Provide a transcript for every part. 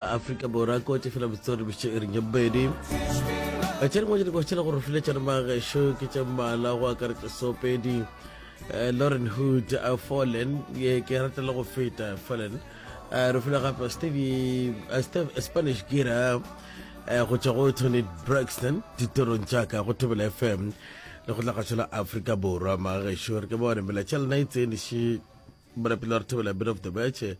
Afrika Borwa ko tše fela botsori boše e reng ya bobedi. Tše dingwe tše dikwa tšela gore file tša magešo ke tše mmala go akaretša sopedi eh, Lauren Hood uh, Fallen ye ke rata le go feta Fallen uh, re file gape Stevie uh, Steve, Spanish Gira uh, go tšwa go Tony Braxton ditorong tša ka go Thobela FM le go tla la Afrika Borwa magešo re ke bone melaetša lena e tsene še Morapelo re thobela bit of the match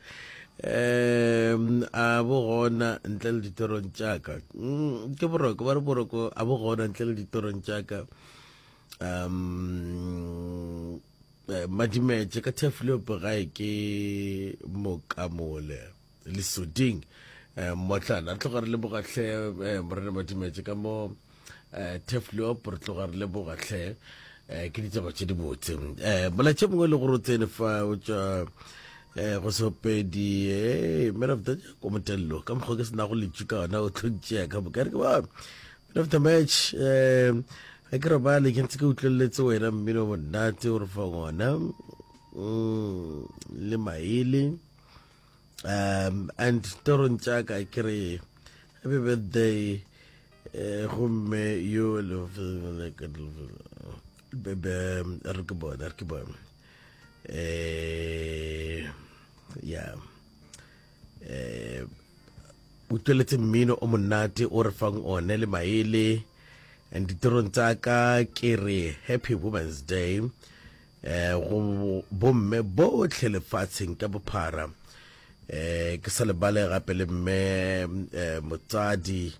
um a bo gona ntle le ditorong tšaka mm, ke boroko ba re boroko a bo gona ntle le ditorong tšaka um eh, madimetše ka theflope gae ke mokamole lesoding um motlana re tloga re lebogatlhe um morena madimetše ka mo um teflop re tloga re lebogatlhe um ke ditaba tše dibotse um molaetša mongwe e le gore o tsene fa o tšwa um go sopedi e man of the ko motello ka mokgwa ke senago letšu ka ona o tlo ntšea ka moka re ke ba man of the match um ga ke robale ke ntse ke utlweleletse wena mmino monate o re fa ngona mm, le maele um and torong tša ka ke re happy birthday eh, gomme yo re ke bone re ke bone eh ya eh o tsweletse mmino o monate o re fang one le maele and ditirong tsa ka ke re happy women's day eh go bomme botlhe lefatsheng ka bophara eh ke sa lebale gape le mme eh, motsadi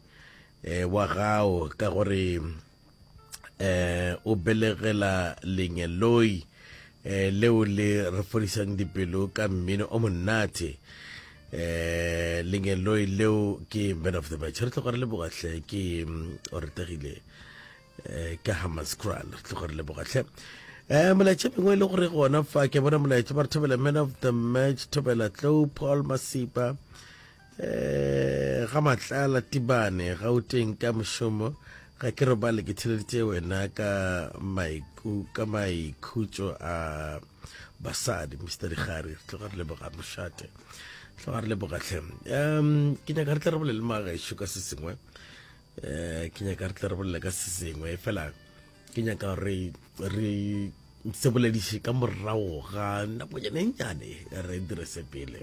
eh, wa gago ka gore eh o belegela lengeloi eh leo le re fodisang dipelo ka mmino o monate eh lengeloi leo ke man of the match re tloga re lebogatlhe ke mm, o retegile eh, ka Hammanskraal re tloga re lebogatlhe um molaetša mengwe e le gore gona fa ke bona molaetša ba re thobela man of the match thobela tlou paul masipa um ga matlala tibane gauteng ka mošomo ga ke robale ke theleditše wena ka maiku ka maikhutšo a basadi mr digare re tloga re leboga mošate tloga re lebogatlhe um ke nyaka re tle re bolele magešo ka se sengwe um ke nyaka re tle re bolele ka se sengwe fela ke nyaka re re se bolediše ka morago ga nakonyana e nnyane re dire se pele.